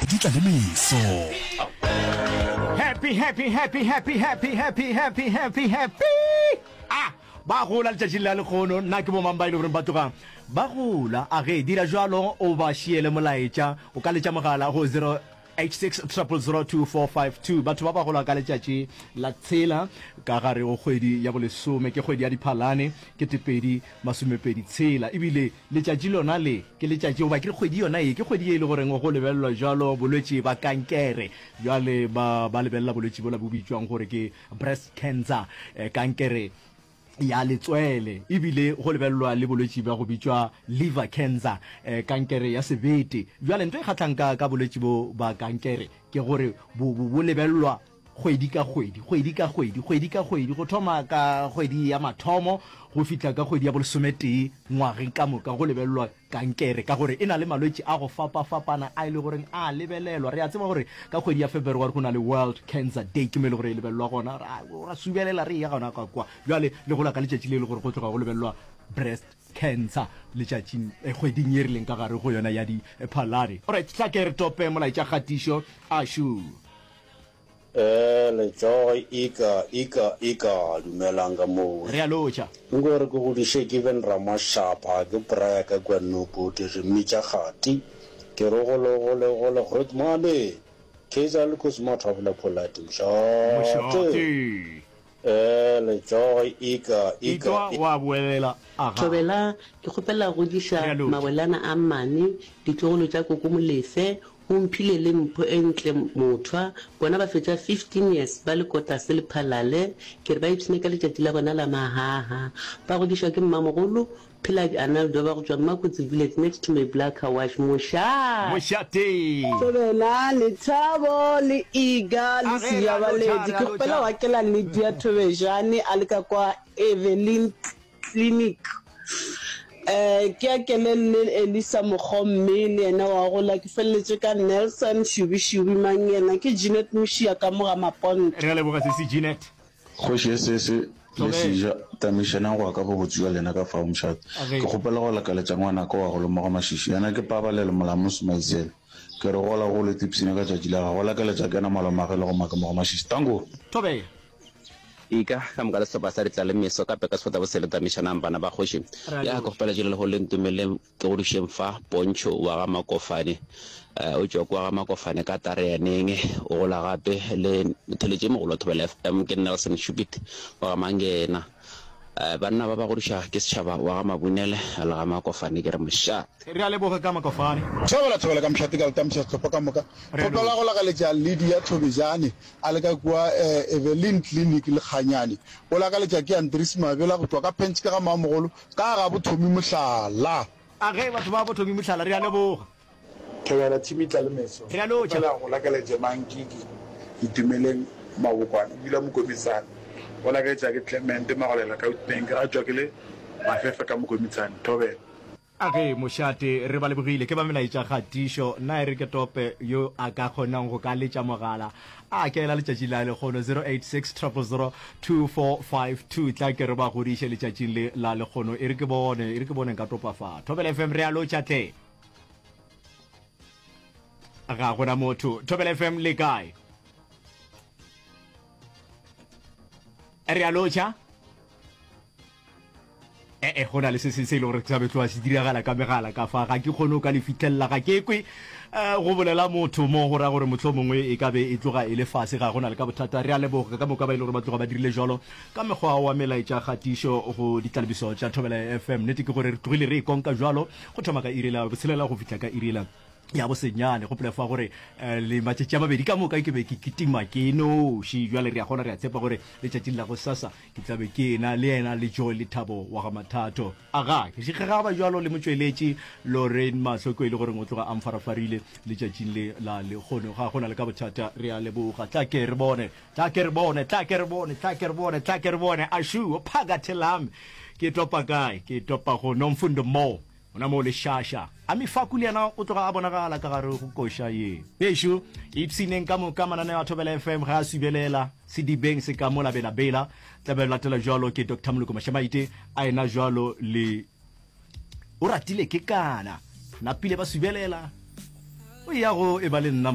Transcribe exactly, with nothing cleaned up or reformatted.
Di tla le meso. Happy, happy, happy, happy, happy, happy, happy, happy, happy. Ah, ba gola letšatšing la lekgono. Nna ke bomang ba e le goreng ba tloga ba gola. A ge dira jalo o ba šiele molaetša. O ka letša mogala go zero eight six triple zero two four five two. Batho ba ba gola ka letšatši la tshela ka gare go kgwedi ya bolesome, ke kgwedi ya Diphalane, ketepedi masomepedi tshela. Ebile letšatši lona le ke letšatši, goba ke re kgwedi yona ye ke kgwedi ye e le goreng go lebelelwa jalo bolwetši ba kankere. Bjale ba, ba lebelela bolwetši bola bo bitšwang gore ke breast cancer, eh, kankere ya letswele. Ebile go lebelelwa le bolwetši bja go bitšwa liver cancer, eh, kankere ya sebete. Bjale ntho e kgahlang ka, ka bolwetši bo ba kankere ke gore bo, bo, bo lebelelwa kgwedi ka kgwedi, kgwedi ka kgwedi, kgwedi ka kgwedi, go thoma ka kgwedi ya mathomo go fihla ka kgwedi ya bolesometee ngwageng ka moka go lebelelwa kankere, ka gore e na le malwetši a go fapafapana a e le goreng a lebelelwa. Re a tseba gore ka kgwedi ya February go na le World Cancer Day, ke mo e le gore e lebelelwa gona, ra, ra subelela re eya gona ka kwa. Bjale le gola ka letšatši le e le gore go tloga go lebelelwa breast cancer letšatšing, eh, kgweding ye re leng ka gare go yona ya Diphalane. Alright, tla ke re tope molaetša kgatišo ašu. Eh, letsogo ika, ika, ika, dumelang ka moo. Re a lotšha. Nko re ke godiše Given Ramashapa, ke braya ka kua Nobody, re mmitša Kgati. Ke re gole, gole, gole, groot mane! Kaizer Lucas Mathabula Polite, mošate. Mošate. Eh, letsogo ika, ika, Itwa wa boelela, aga. Thobela, ke kgopela go godiša Re a lotšha. mawelana a mane, ditlogolo tša Koko Molefe, O mphile le mpho e ntle mothwa, bona ba fetša fifteen years ba le kotase le Phalale, ke re ba ipshine ka letšatši la bona la mahaha. Ba godišwa ke mmamogolo, Pheladi Arnaldo ba go tšwa Mmakotsi village next to my Bla car wash. Mošate! Mošate! Thobela, Lethabo, le Iga, le A ge, re a lotšha, Sejabaledi. re a Ke kgopela lotšha. go akela Lydia Thobejane a le ka kwa Evelyn Clinic. Eh, ke akele le Elisa Mokgomme, le yena wa gola. Ke feleletše ka Nelson Shubi-Shubi, mang yena? Ke Jeanette Mošia ka mo ga Maponto. Re a leboga sesi Jeanette. Kgoši e sese le Thobela. seja, tamišanang go ya ka bobotse bja lena ka fao mošate. A ge. Ke kgopela go lakaletša ngwanaka wa go lemoga mašiši. Yena ke Pabalelo Molamusi Maizele. Ke re gola golo tipsine ka tšatši la gagwe. Go lakaletša ke yena malomagwe le go make mo go mašiši. Tanko! Thobela. Ika, ka moka le sehlopha sa Ditlalemeso ka peka sefota bosele tamišanang bana ba kgoši. Re a Ya, ke lotšha. kgopela tšele lehono le ntumeleleng ke godišeng fa Pontšho wa ga Makofane. Eh, o tšwa kwa ga Makofane ka Tareaneng, o gola gape le motheletši e mogolo wa Thobela F M ke Nelson Shupit wa ga Mangena. Eh, banna ba ba godiša ke setšhaba wa ga Mabunele le ga Makofane ke re mošate. Re a leboga ka Makofane. Thobela, thobela ka mošate ka letamiša sehlopha ka moka. Re a Kgopela lotšha. go lakaletša Lydia Thobejane a le ka kua Eveline Clinic Lekganyane. O lakaletša ke Andries Mabela go tšwa ka Pentch ka ga Mamogolo ka ga Bothomi Mohlala. A ge batho ba Bothomi Mohlala, re a leboga. Thobela team Tlalemeso. Re a lotšha. Kgopela go lakaletša Mankiki Itumeleng Mabokwane o dula Mokomitshane. O lakaletša ke Clement Magolela ka Witbank a tšwa ke le Mafefe ka Mokomitshane. Thobela. A ge, mošate, re ba lebogile. Ke ba melaetša kgatišo. Nna e re ke tope yo a ka kgonang go ka letša mogala a kela letšatši la lekgono, zero eight six triple zero two four five two. Tla ke re ba godiše letšatšing le la lekgono. E re ke bone, e re ke bone nka topa fa. Thobela F M, re a lotšha tle. Ga gona motho. Thobela F M, le kae? Re a lotšha. E-e, go na le se sengwe se e le gore sa be tloga se diragala ka megala ka fa, ga ke kgone go ka le fihlelela, ga ke kwe um go bolela motho mo, go ra gore mohlomongwe e ka be e tloga e le fase, ga go na le ka bothata. Re a leboga ka moka ba e le gore ba tloga ba dirile jwalo ka mekgwa wa melaetša kgatišo go ditlalebiso tša Thobela F M. Nnete ke gore re tlogile re e konka jwalo go thoma ka iri la botshelela go fihla ka iri la ya bosenyane. Gopola fa gore eh, le matšatši a mabedi ka moka ke be ke kitima ke noši. Jwale re a kgona, re a tshepa gore letšatšing la go sasa ke tla be ke ena le yena le Joy le Thabo wa ga Mathato. Aga, ke šikgegaba jwalo le motšweletši Lorraine Mahlo, ko e le goreng o tloga a mfarafarile letšatšing le la lekgono. Ga gona le ka bothata, re a leboga. Tla ke re bone, tla ke re bone, tla ke re bone, tla ke re bone, tla ke re bone. Ashu, phakathi lami. Ke topa kae? Ke topa go Nomfundo Mo. Gona moo lešaša. A Mifaku le yena o tloga a bonagala ka gare go koša ye. Bešo, ipshineng ka moka mananeo a Thobela F M ge a subelela sedibeng se ka mola Bela-Bela. Tla be latela jwalo ke Doctor Moloko Mashamaite a ena jwalo le O ratile ke kana. Napile ba subelela. O ya go e ba le nna.